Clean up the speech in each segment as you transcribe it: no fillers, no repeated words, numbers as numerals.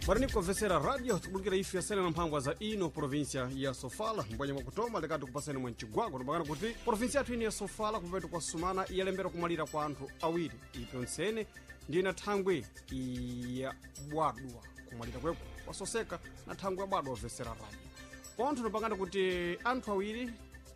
Bwana nikovesera radio tikubulikira ife yasene na mphangwa za ino provinsia ya Sofala mbwanya mwakutoma lekati kupaseni mwa mcigwagwa tupakana kuti provinsia yathu ino ya Sofala kupetu kwa Sumana iyalembera kumalira kwa anthu awiri ipyo ntsene ndiyo na thangwi ya bwadwa kumalira kweko kwasoseka na thangwi ya bwadwa ovesera radio pontho tupakana kuti anthu awiri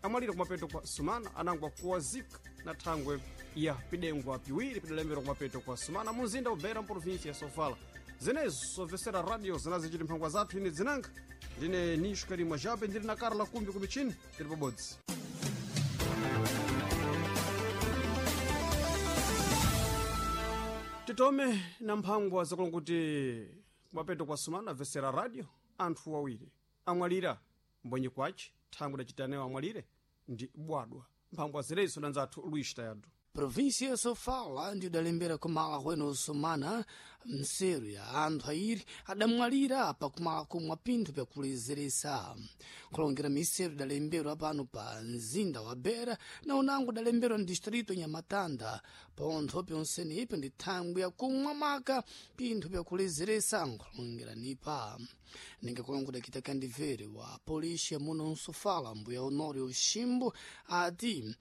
amalira kumapeto kwa Sumana anangwa kuwazika na thangwe ya pidengwa piwiri pidalembera kumapeto kwa Sumana muzinda ubera mprovinsia ya Sofala. Zenezo sovesera radio zinazichiti mphangwa zathu ine dzinanga ndine Nisho Karimwa Jape, ndili na Karla Kumbi kumichini tili pabodzi. Titome na mphangwa zakulonga kuti kumapeto kwa Sumana vesera radio anthu awiri amwalira mbonyi kwace thangwi dacitanewo amwalire ndi bwadwa. Mphangwa zenezo danzathu Luis Tayadu. Província ya Sofala ndiyo idalembera kumala kwene Somana mseru ya anthu ayiri adamwalira pakumala kumwa pinthu pyakulezeresa. Kulongera miseru idalemberwa pano pa mzinda wa Beira na unango idalemberwa ndistrito Nyamatanda. Pontho pyonsene ipi ndi thangwi yakumwa maka pinthu pyakulezeresa nkulongera nipa. Ninga kulongo dakita kandivere wa polícia muno Nsofala mbuya Honório Ximbo ati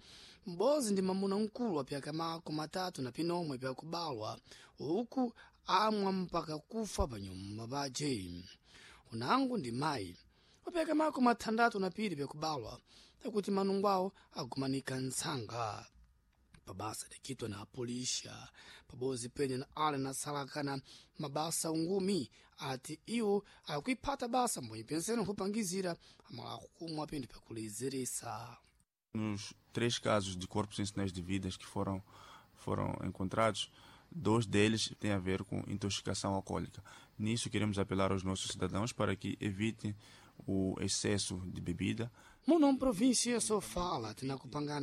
m'bodzi ndi mamuna mkulu wa pyaka mako matatu na pinomwe pyakubalwa uku amwa mpaka kufa pa nyumba pace. Unango ndi mayi wa pyaka mako mathandatu na piri pyakubalwa takuti manungo awo agumanika ntsanga pabasa likitwa na apolisia pabodzi pene na ale nasalakana mabasa ungumi ati iwo akuiphata basa mbonyi pensene nkupangizira amala kumwa pinthu pyakulezeresa. Nos três casos de corpos sem sinais de vidas que foram encontrados, dois deles têm a ver com intoxicação alcoólica. Nisso, queremos apelar aos nossos cidadãos para que evitem o excesso de bebida. Muno mprovíncia Sofala tinakupangana.